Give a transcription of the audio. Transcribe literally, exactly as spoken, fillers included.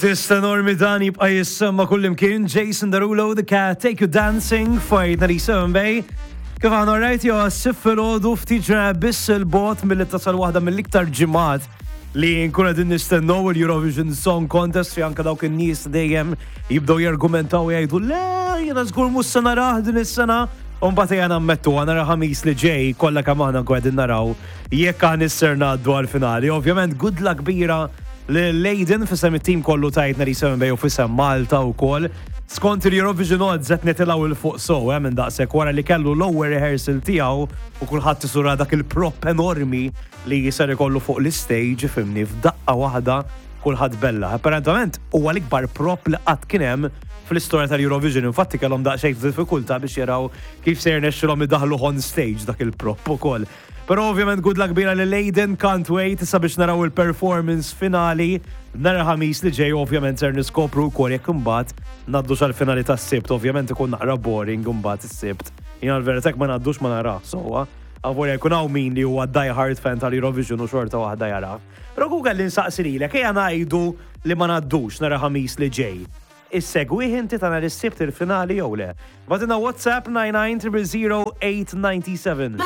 Artist enormi dan jibqa' jissemma kullimkien, Jason Derulo, The Cat, Take You Dancing, Fight ninety-seven Bay. Kif għana rajt jo s-sitt filgħodu, ftit ġranet biss 'il bogħod milli tasal waħda mill-iktar ġimgħat li nkunu qegħdin nistennew, il-Eurovision Song Contest, fi anka dawk in-nies dejjem jibdew jargumentaw, jgħidu, "Le, jiena żgur mhux se narah din is-sena." U mbagħad ejja nammettu, għana Ħamis li ġej kollha kemm aħna nkunu qegħdin naraw jekk aħna ser ngħaddu għal-finali. Ovvjament good luck kbira lil Aiden f'isem it-tim kollu ta' ninety-seven Bay u f'isem Malta wkoll. Skont il-Eurovision Odds qed nitilgħu 'l fuq so, eh, minn daqshekk wara li kellu l-ewwel rehearsal tiegħu u kulħadd isura dak il-prop enormi li jisar ikollu fuq l-stage, fimni, f'daqqa waħda kulħadd bella. Apparentament huwa l-ikbar prop li qatt kien hemm fl-istorja tal-Eurovision. Infatti kellhom daqsxejn diffikultà biex jaraw kif se jirnexxilhom idaħlu on stage dak il-prop ukoll. Però ovvjament good luck kbira lil Aiden, can't wait issa biex naraw il-performance finali nhar Ħamis li ġej. Ovvjament ser niskopru wkoll jekk imbagħad ngħaddu sal-finali tas-Sibt, ovvjament ikun naqra boring imbagħad is-Sibt. Jiena l-verità ma ngħaddux ma nara, sowa. Avolja jkun hawn min li huwa die hard fan tal-Eurovision u xorta waħda jara. Però ku kelli nsaqsi lilek, ejja ngħidu li ma ngħaddux nhar Ħamis li ġej. Issegwih inti ta' nhar is-Sibt il-finali jew le? Ibgħatilna WhatsApp nine nine zero zero eight nine seven.